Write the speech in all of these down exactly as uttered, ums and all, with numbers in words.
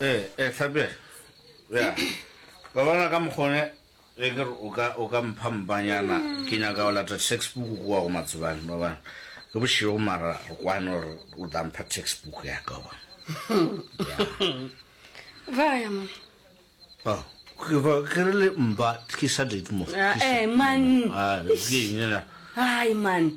Ee, ee, Hlapega. Ya. Ba bona ka mokgone ge ke re o ka o ka mpha mpanyana ke nyaka go lata textbook kua go Matsebane ba bona. Ke bošego mara re kwane gore o tla mpha textbook ya ka wa. Ya. Vaya man. Oh, ke ba ke re le mpa ke sa date mo. Ah, eh man. Ah, ke eng ena? Ai man.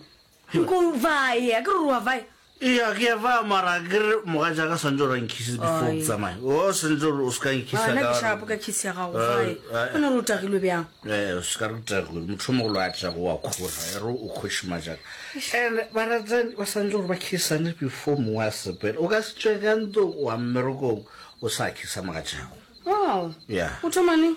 Nko vaya, ke re wa vaya. Eya, ke a vaya mara ke re mogatšaka swantse gore a nkhise before ke tsamaye. O swantse gore o se ka nkhisa Nna ka ke shapo ka kiss ya gago vae. O ne re o tagilwe bjang? Eh, o se ka re o tagilwe. Motho o mogolo a tlago wa khora, e re o khoše majaka. And baratani ba swantse gore ba kissane before mongwe a sepela. O ka se tšwe ka ntlong wa mmerekong o sa khisa mogatšago. Wow. Yeah. O thoma neng?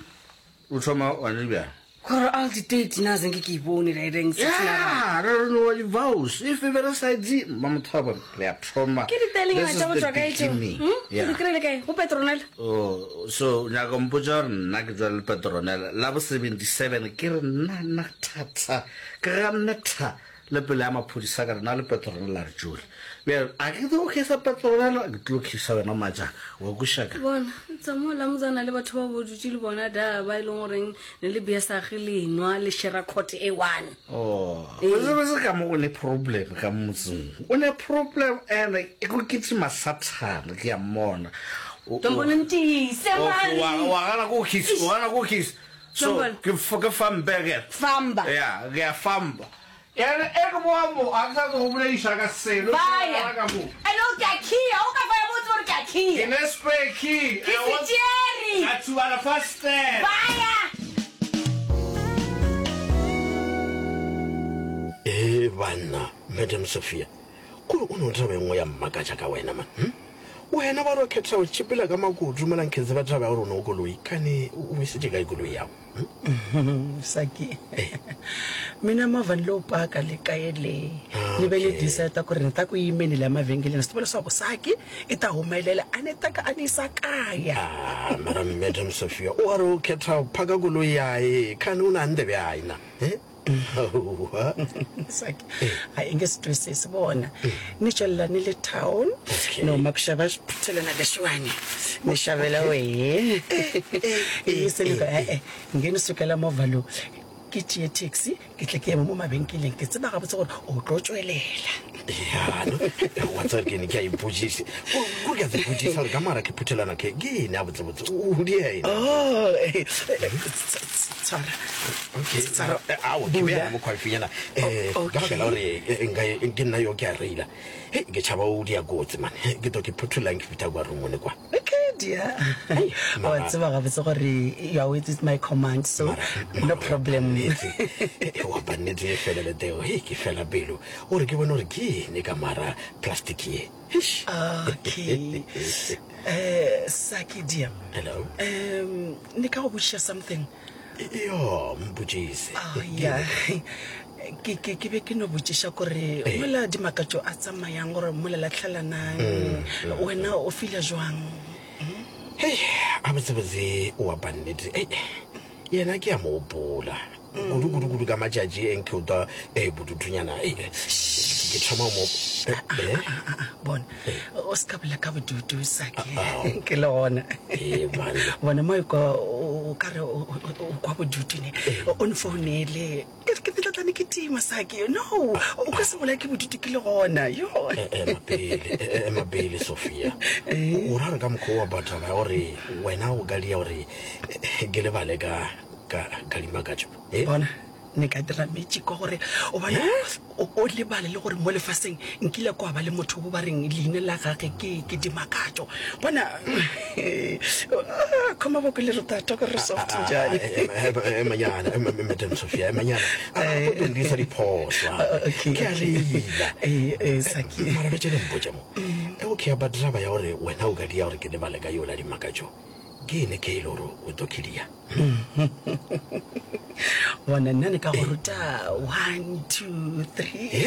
O thoma one bjang? Gore all the date na zenge ke e bone la ireng Yeah, re re no di-vows. If e be re sa di, mmamothabo, re a thoma. Ke ditaelenyana This is tša go the tšwa kae tšeo? beginning. Hmm? O Yeah. di kry-ile kae? Go Petronella? Oh, so nyaka mpotša gore nna ke tšwa le Petronella la bo seventy-seven ke re nna nna thata ke ganne tha le pele ya maphodisa ka re nna le Petronella re tšole. Bjale a ke tlo khisa Petronella, ke tlo khisa wena majaka. Wa kweša ka? Bona, tsa mo la motsana le batho ba bo dutše le bona da ba e leng goreng ne le bea sage le nwa le shera court e one. Oh, botse ka mo go ne problem ka motseng. O ne problem and e go kitima sathane ke a mmona. O- o- Tombolo ntiise Okay, wa man. wa gana ko kiss, o gana ko kiss. So Tombolo. ke f- ke fambeke. Famba. Ya, ke a famba. Ene e ke boa mo, a ke sa tlo go bolediša ka selo. Baya. Ka mo. And o ke a khia, o ka faya botse gore ke a Ke khia. ne spare key. Ke se tšere. Ka tsuba lefastere. Baya. Ee banna, Madam Sophia, kore o no taba e nngwe ya mmakatša ka wena man. Hm? Wena ba re o kgetha go tšhepela ka makutu mola nkhe tseba taba ya gore o ne o koloi, kane o isitše kae koloi yago? Hm? Saki mina movha ni lowu paka le kaye le ni ve ni Okay. decide ku ri ni ta ku yimeni la mavhengeleni swi tiva leswaku Saki i ta humelela a ni ta ka a ni yisa kaya. Ah, mara Madam Sophia, o a re o kgetha go phaka koloi yae, kane o na ndebe yae na? Eh? Aowa. Saki a i nge swi twisisi vona ni tswelela ni le town Okay. ni huma ku xava xiputhelana lexiwani ni xavela wehe ivi se ni ku e-e nge ni sukela movha lowu ke tšee taxi ke tle ke eme mo mabenkeleng ke tseba gabotse gore o tlo tswelela. Ya, no, wa tseba ke ne ke a ipotšiša. Kore ke a tsepotšiša gore ka mara ke phuthelana ke ke eng a botsebotse o dia eng? Oh, eh, eh, tshwara. Okay, Tshwara. eh, ao ke Bula. bea mo khwafinyana eh O- ka baka la okay. gore eh, nka ke nna yo ke a reila. Hei, ke tšhaba o dia kotsi man. Ke to ke phuthulang ke fitha kwa roomong kwa. Okay, dear. Wa mara- tseba gabotse gore you are with my command, so no problem. Nnete. Eh, wa ba nnete e felele teo. Hei, ke fela pelo. O re ke bone gore ke eng ka mara plastic ye. Eish. Okay. Eh, Saki dear. Hello. Um, ne ka go botšiša something. Yo, mpotšise. Oh, yeah. Ke ke ke be ke no botšiša kore mola dimakatšo a tsamayang gore mola latlhelanang wena o feel jwang? Hei, a botsebotse wa ba nnete. Ei, yena ke a mo opola. Kudu kudu kudu ka matšatši e nke o twa eh bodutunyana. Ei, ke ke thoma mo eh, eh? Ah, ah, bona o se ka bolela ka bodutu Saki ke le gona. Eh, banna. Bona mo kwa o ka re o o- o kwa bodutu ne o nfounele ke ke tlatlane ke tima Saki no o ka se bolae ke bodutu ke le gona yo. Eh, eh, mapele, eh, eh, mapele Sophia. O ra re ka mokgwa wa batho ba gore wena o ka dia gore eh, ke lebale ka ka ka dimakatšo. Eh? Bona ne ka dira magic gore o bane o o lebale le gore mo lefaseng nkile kwa ba le motho bo ba reng leina la gage ke ke dimakatšo. Bona khoma boko le re tata gore soft njani. Emanyana, Madam Sophia, emanyana. A go tondisa diphoso. Okay, Ke a okay. lela. Eh, eh, Saki. Mara betse le mpotše mo. E okay ba draba ya gore wena o ka dia gore ke lebale ka yola dimakatšo. Ke ene ke ile gore o tlo khidia. Bona nna ne ka go ruta one two three.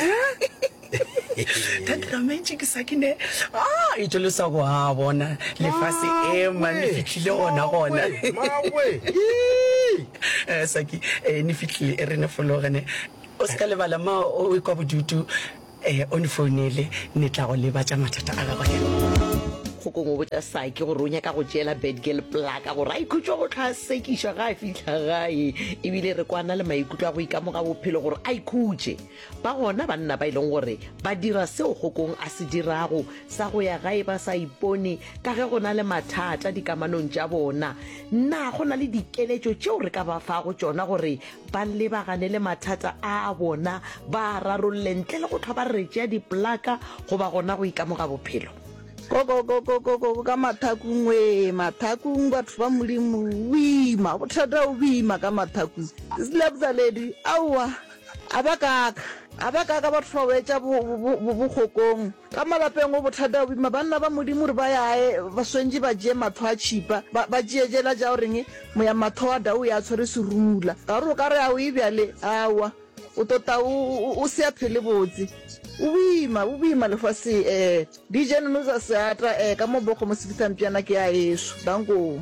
Ka dira magic Saki ne. Ah, e tšwelesa go a bona lefase e man le fihlile gona gona. Mawe. Eh, Saki, eh, ne fihlile e re ne fologe ne. O se ka lebala ma o ikwa bodutu eh o nfounele ne tla go lebatša mathata a gago. Kgokong o botša Saki gore o nyaka go tšeela Badgirl plaka gore a ikhutše go hlwa a sekišwa ga a fihla gae. Ebile re kwana le maikutlo a go ikamoga bophelo gore a ikhutše. Ba gona banna ba e leng gore ba dira seo Kgokong a se dirago sa go ya gae ba sa ipone ka ge go na le mathata dikamanong tša bona. Na go na le dikeletšo tšeo re ka ba fago tšona gore ba lebagane le mathata a a bona ba a rarolle ntle le go hlwa ba re tšea diplaka goba gona go ikamoga bophelo? Kokokokokoko ka mathakung wee, mathakung batho ba Modimo, boima, bothata bo boima ka mathakung. Slebzaledi, aowa, a ba kaka, a ba kaka batho ba wetša bo, bo, bo, bokgokong. Ka malapeng go bothata bo boima, banna ba Modimo re ba yae, ba swantše ba tšee matho a tšhipa, ba, ba tšee tšela tša go reng, moya matho wa dau ya tshwere serumula. Ka gore o ka re a o e bjale, aowa, o tota o, o, o se a phele botse. O boima, bo boima lefase eh. D J Nonoza Seata eh, ka mo Bokgomo Sefithampjana ke ya eso. Dankoo.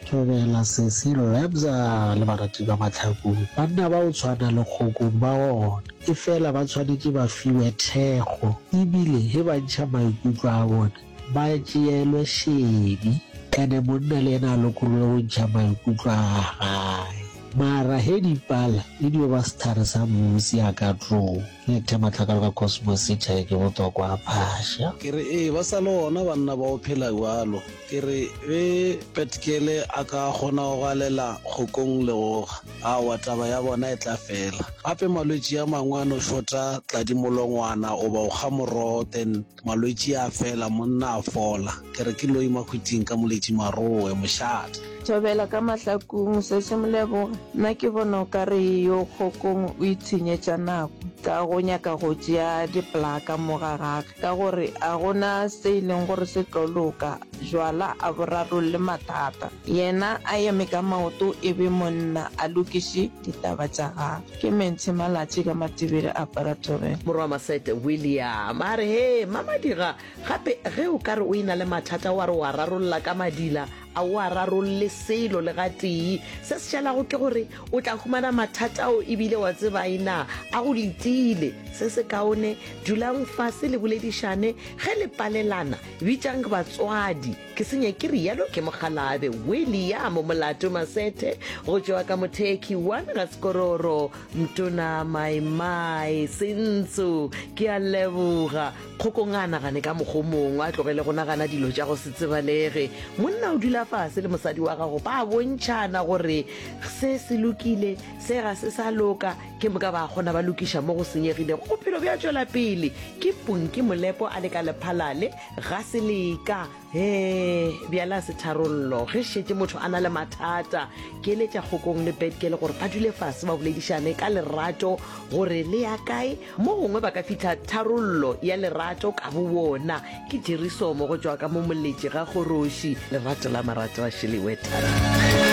Thobela Sesi Lebza le barati ba Mahlakung. Banna ba go tshwana le Kgokong ba gona, efela ba tshwanetše ba fiwe thekgo ebile ge ba ntšha maikutlo a bona ba tšeelwe šedi. Ene monna le yena a lokologe go ntšha maikutlo a gae. Mara ge di pala e dio ba sethare sa musi a ka tlo le the matlakalo ka Cosmos City ke botokwa a phasha. Ke re, Ee, ba sa le gona banna ba go phela bjalo. Ke re, Ge Petkele a ka kgona go galela kgokong legoga, aowa, taba ya bona e tla fela. Gape malwetši a mangwe a no šota tladimolongwana goba go kga morogo then malwetši a fela, monna a fola. Ke re ke loi mahwiting ka moletši marowe, mošate. Thobela ka mahlakung, Sesi Moleboge, nna ke bona o ka re yo Kgokong o itshenyetša nako ka go nyaka go tšea diplaka mo ga gage ka gore a go na se e leng gore se tlo loka, jwala a bo rarolle mathata. Yena a eme ka maoto e be monna a lokiše ditaba tša gagwe. Ke Mentshi Malatši ka Matibele a apara thobela. Morwa Masete William a re, Hee, Mamadiga, gape ge o ka re o e-na le mathata wa re o a rarolla ka madila, a o a rarolle selo le gatee. Se se šalago ke gore o tla humana mathata ao e bile wa tseba na a go letile. Se sekaone, dulang fase le boledišane. Ge le palelana, bitšang batswadi. Ke senye ke realo ke mokgalabje William Molato Masethe go tšwa ka Mothekhi one ga Sekororo, Mtona Maimai Sentso. Ke a leboga. Kgokong a nagane ka mokgwa o mongwe, a tlogele go nagana dilo tša go se tsebalege. Monna o dula fase le mosadi wa gago, ba bontšhana gore se se lokile, se ga se sa loka, ke moka ba kgona ba lokiša mo go senyegilego. Bophelo bja tšwela pele. Ke Punki Molepo a le ka Lephalale, ga se leka. Hee, bjale a se tharollo. Ge šetše motho a na le mathata, ke eletša Kgokong le Badgirl gore ba dule fase ba boledišane ka lerato gore le ya kae. Mo gongwe ba ka fihla tharollo ya lerato ka bobona. Ke Jerry Somo go tšwa ka mo Moletši ga Kgoroši. Lerato la marato a šelewe thata.